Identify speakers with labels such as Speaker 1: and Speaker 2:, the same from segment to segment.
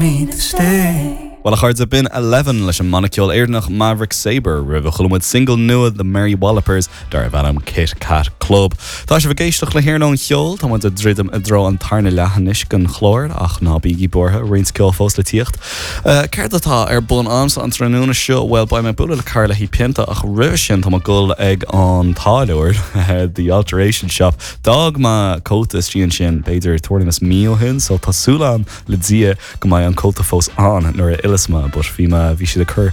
Speaker 1: Me to stay.
Speaker 2: Bhuel a chairde, b'in Elevven leis an mbanna ceoil Éireannach Maverick Sabre. Roimhe chuala muid single nua The Mary Wallopers darbh ainm Kit Kat Club. Tá sibh ag éisteacht le hIarnóin Cheoil, tá muid ag druidim i dtreo an tarna leath anois den chlár ach ná bígí buartha, roinnt ceoil fós le tíocht. Céard atá ar bun a'msa an tráthnóna seo? Bhuel, beidh mé ag bualadh le Carla Uí Pionta ach roimhe sin tá mé ag dul ag an táilliúir, The Alteration Shop. D'fhág mé cóta istigh ansin b'fhéidir tuairim is mí ó shin so tá súil a'm le Dia go mbeidh an cóta fós ann nuair a fhilleas mé but bhí mé, bhí siad ag cur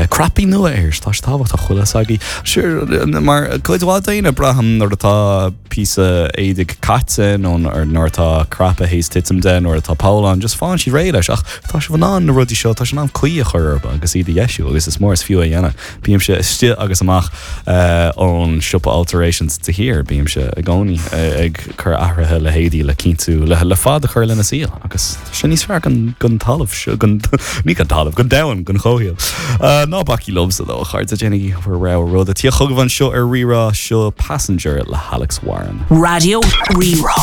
Speaker 2: cnaipí nua air, tá sé tábhachtach, bhfuil fhios agaibh. Sure, mar cuid mhaith daoine braithim nuair atá píosa éadaigh caite nó nuair atá cnaipe théis titim de, nuair atá poll ann, just faigheann siad réidh leis ach tá sibh in ann na rudaí seo, tá sibh in ann caoi a chur orthu agus iad a dheisiú agus is mór is fiú é a dhéanamh. Bímse istigh agus amach ón siopa alterations de shíor, bímse i gcónaí ag cur athruithe le héadaí le cinntiú le fad a chur lena saol agus tá sé níos fearr don talamh, ní don talamh, don domhan, don chomhshaol. Ná bacaigí liomsa though, a chairde, déanaigí bhur rogha rud. Ag tíocht chugaibh anseo ar Rí-Rá, seo Passenger le hAlex Warren.
Speaker 1: Raidió Rí-Rá.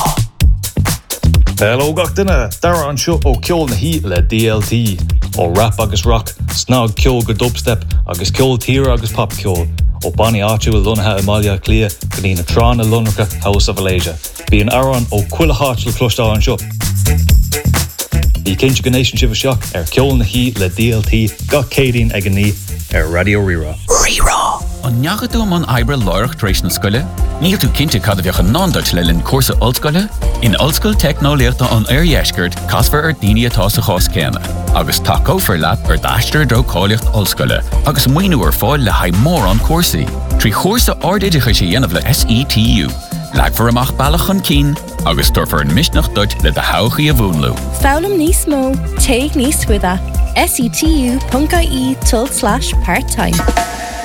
Speaker 3: Hello gach duine, Dara anseo ó Ceol na hOíche le DLT. Ó rap agus rock, snagcheol go dubstep agus ceol tíre agus popcheol, ó bannaí áitiúil lonnaithe i mBaile Átha Cliath go dtí na tránna lonracha House of Alasia. Bíonn amhráin ó chuile háit le cloisteáil anseo. Bí cinnte go n-éisteann sibh isteach ar Ceol na hOíche le DLT gach Céadaoin ag a 9 ar Raidió Rí-Rá.
Speaker 1: Rí-Rá.
Speaker 4: An ndeachaigh tú i mbun oibre láithreach tar éis na scoile? Níl tú cinnte cad a bheadh i ndán duit le linn cúrsa ollscoile? In Ollscoil Teicneolaíochta an Oirdheiscirt, casfar ar daoine atá sa chás céanna, agus tacófar leat ar d'aistear i dtreo cáilíocht ollscoile, agus maoiniú ar fáil le haghaidh mórán cúrsaí. Trí chúrsa ardoideachais a dhéanamh le SETU, leagfar amach bealach chun cinn agus tabharfar an misneach duit le do thodhchaí a mhúnlú.
Speaker 5: Foghlaim níos mó, téigh níos faide, setu.ie tulslais part time.